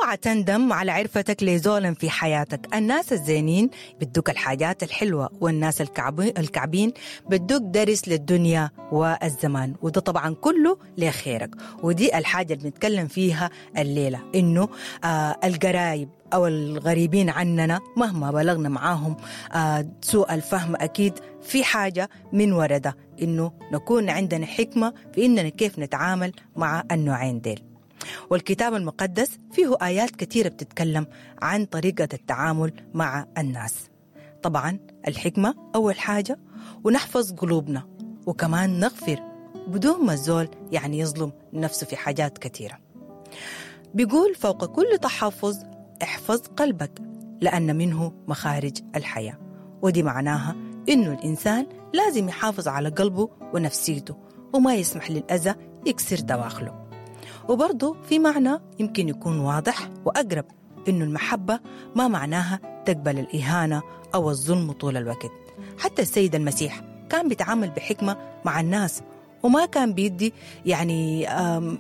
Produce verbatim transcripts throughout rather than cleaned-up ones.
اوعى تندم على عرفتك لزولا في حياتك. الناس الزينين بدوك الحاجات الحلوة، والناس الكعبين بدوك درس للدنيا والزمان، وده طبعا كله لخيرك. ودي الحاجة اللي بنتكلم فيها الليلة، إنه آه القرايب أو الغريبين عننا مهما بلغنا معاهم آه سوء الفهم، أكيد في حاجة من ورده، إنه نكون عندنا حكمة في إننا كيف نتعامل مع النوعين ديل. والكتاب المقدس فيه آيات كثيرة بتتكلم عن طريقة التعامل مع الناس. طبعا الحكمة أول حاجة، ونحفظ قلوبنا، وكمان نغفر بدون ما الزول يعني يظلم نفسه في حاجات كثيرة. بيقول فوق كل تحفظ احفظ قلبك لأن منه مخارج الحياة. ودي معناها إنه الإنسان لازم يحافظ على قلبه ونفسيته وما يسمح للأذى يكسر دواخله. وبرضه في معنى يمكن يكون واضح وأقرب، إنه المحبة ما معناها تقبل الإهانة أو الظلم طول الوقت. حتى السيد المسيح كان بيتعامل بحكمة مع الناس، وما كان بيدي يعني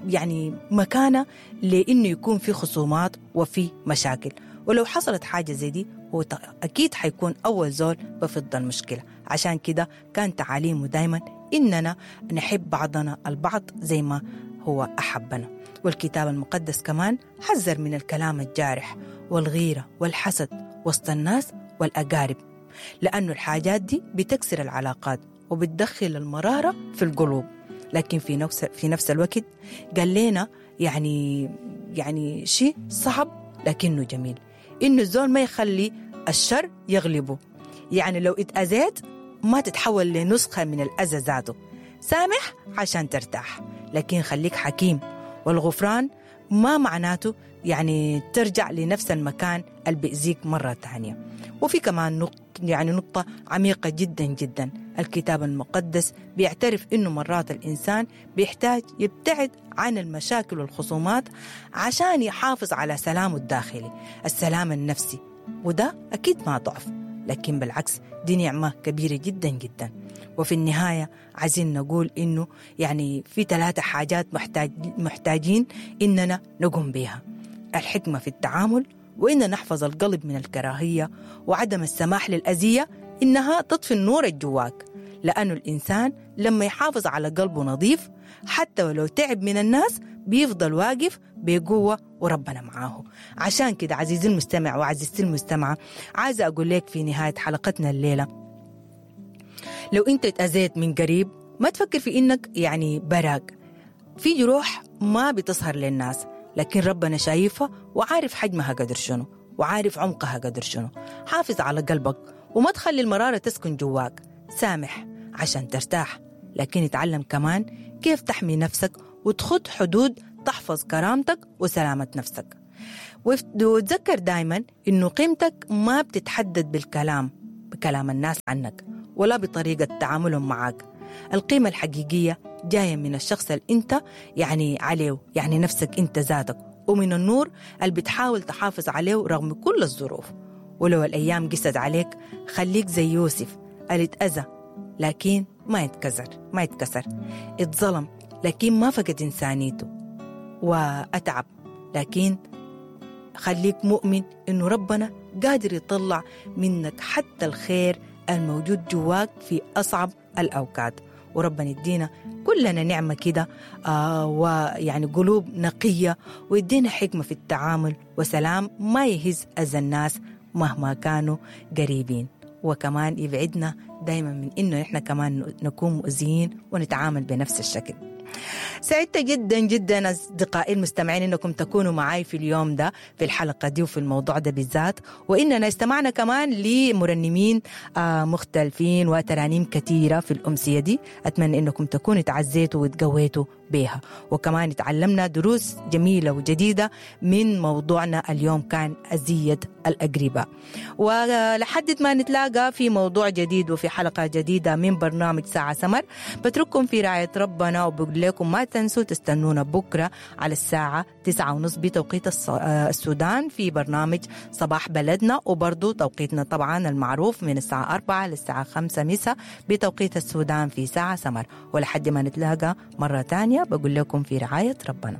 يعني مكانة لإنه يكون في خصومات وفي مشاكل. ولو حصلت حاجة زي دي هو أكيد حيكون أول زول بفض المشكلة. عشان كده كان تعاليمه دايما إننا نحب بعضنا البعض زي ما هو أحبنا. والكتاب المقدس كمان حذر من الكلام الجارح والغيرة والحسد وسط الناس والأقارب، لأنه الحاجات دي بتكسر العلاقات وبتدخل المرارة في القلوب. لكن في نفس في نفس الوقت قال لنا يعني يعني شيء صعب لكنه جميل، إنه الزول ما يخلي الشر يغلبه. يعني لو اتأذيت ما تتحول لنسخة من الأذى ذاته، سامح عشان ترتاح، لكن خليك حكيم. والغفران ما معناته يعني ترجع لنفس المكان اللي بيأذيك مرة تانية. وفي كمان نقطة يعني نقطة عميقة جدا جدا، الكتاب المقدس بيعترف إنه مرات الإنسان بيحتاج يبتعد عن المشاكل والخصومات عشان يحافظ على سلامه الداخلي، السلام النفسي. وده أكيد ما ضعف، لكن بالعكس دي نعمة كبيرة جدا جدا. وفي النهاية عايزين نقول إنه يعني في ثلاثة حاجات محتاج محتاجين إننا نقوم بها: الحكمة في التعامل، وإن نحفظ القلب من الكراهية، وعدم السماح للأذية إنها تطفي النور الجواك. لأنه الإنسان لما يحافظ على قلبه نظيف حتى ولو تعب من الناس بيفضل واقف بقوة وربنا معاه. عشان كده عزيزي المستمع وعزيزتي المستمعة، عايزة أقول لك في نهاية حلقتنا الليلة، لو أنت اتأذيت من قريب ما تفكر في إنك يعني براك. في جروح ما بتظهر للناس، لكن ربنا شايفها وعارف حجمها قدر شنو وعارف عمقها قدر شنو. حافظ على قلبك وما تخلي المرارة تسكن جواك. سامح عشان ترتاح، لكن اتعلم كمان كيف تحمي نفسك وتخط حدود تحفظ كرامتك وسلامة نفسك. وتذكر دايما إنه قيمتك ما بتتحدد بالكلام، بكلام الناس عنك، ولا بطريقة تعاملهم معك. القيمة الحقيقية جاية من الشخص اللي انت يعني عليه، يعني نفسك انت ذاتك، ومن النور اللي بتحاول تحافظ عليه رغم كل الظروف. ولو الأيام قست عليك خليك زي يوسف اللي اتأذى لكن ما يتكسر، ما يتكسر، اتظلم لكن ما فقد إنسانيته، وأتعب لكن خليك مؤمن إنه ربنا قادر يطلع منك حتى الخير الموجود جواك في أصعب الأوقات. وربنا يدينا كلنا نعمة كده آه ويعني قلوب نقية، ويدينا حكمة في التعامل وسلام ما يهز أذى الناس مهما كانوا قريبين، وكمان يبعدنا دايما من إنه إحنا كمان نكون مؤذيين ونتعامل بنفس الشكل. سعدت جدا جدا أصدقائي المستمعين إنكم تكونوا معي في اليوم ده في الحلقة دي وفي الموضوع ده بالذات، وإننا استمعنا كمان لمرنمين مختلفين وترانيم كثيرة في الأمسية دي. أتمنى إنكم تكونوا تعزيتوا وتقويتوا بها، وكمان تعلمنا دروس جميلة وجديدة من موضوعنا اليوم كان أذية الأقرباء. ولحد ما نتلاقى في موضوع جديد وفي حلقة جديدة من برنامج ساعة سمر، بترككم في رعاية ربنا وبقول لكم ما تنسوا تستنونا بكرة على الساعة تسعة ونص بتوقيت السودان في برنامج صباح بلدنا، وبرضو توقيتنا طبعا المعروف من الساعة أربعة للساعة خمسة مساء بتوقيت السودان في ساعة سمر. ولحد ما نتلاقى مرة تانية بقول لكم في رعاية ربنا.